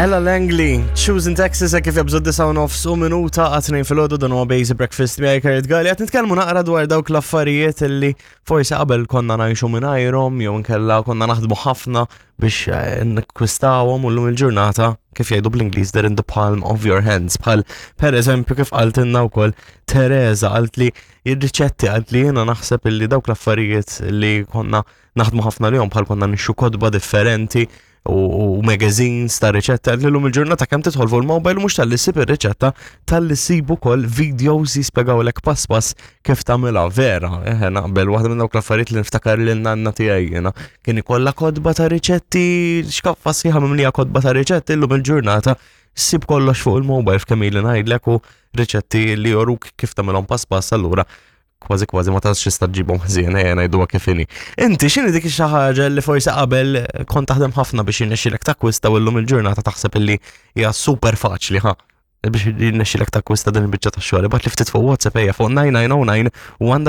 Ella Langley, Choosing Texas, kif jabżu 9 u minuta għatnejn fil-ħodu dan huwa Basic Breakfast miegħi Kurt Galli. Qed nitkellmu naqra dwar dawk l-affarijiet li forsi qabel konna ngħixu mingħajrhom jew nkella konna naħdmu ħafna biex eh, nikkwistawhom u llum il-ġurnata kif jgħidu bl-Ingliż they're in the palm of your hands. Bħal per eżempju kif qaltilna wkoll Teresa qalt li ir-riċetti qalt li jiena naħseb illi dawk l-affarijiet li konna naħdmu ħafna lihom bħal konna nixxu kotba differenti u magazines ta' riċetta li l-lum il-ġurnata kemm tidħol fuq il-mobile mhux tal-li ssib ir-riċetta tal-li ssib ukoll videos jispjegawlek pass pass kif tagħmilha vera. Eħe naqbel waħda minn dawk l-affarijiet li niftakar lil nanna tiegħi jiena kien ikollha kotba ta' riċetti xkaffa sħiħa mimlija kotba ta' riċetti llum il-ġurnata ssib kollox fuq il-mobile f'kemm ili ngħidlek u riċetti li joruk kif tagħmilhom pass pass allura kważi kważi ma tantx tista' ġġibhom ħżien ejja ngħiduha kif inhi. Inti x'inhi dik xi ħaġa li forsi qabel kont taħdem ħafna biex jirnexxilek takkwista u llum il-ġurnata taħseb illi hija super faċli ħa biex jirnexxilek takkwista din il-biċċa tax-xogħol. Ibgħat li ftit fuq WhatsApp ejja fuq 9909 u għandha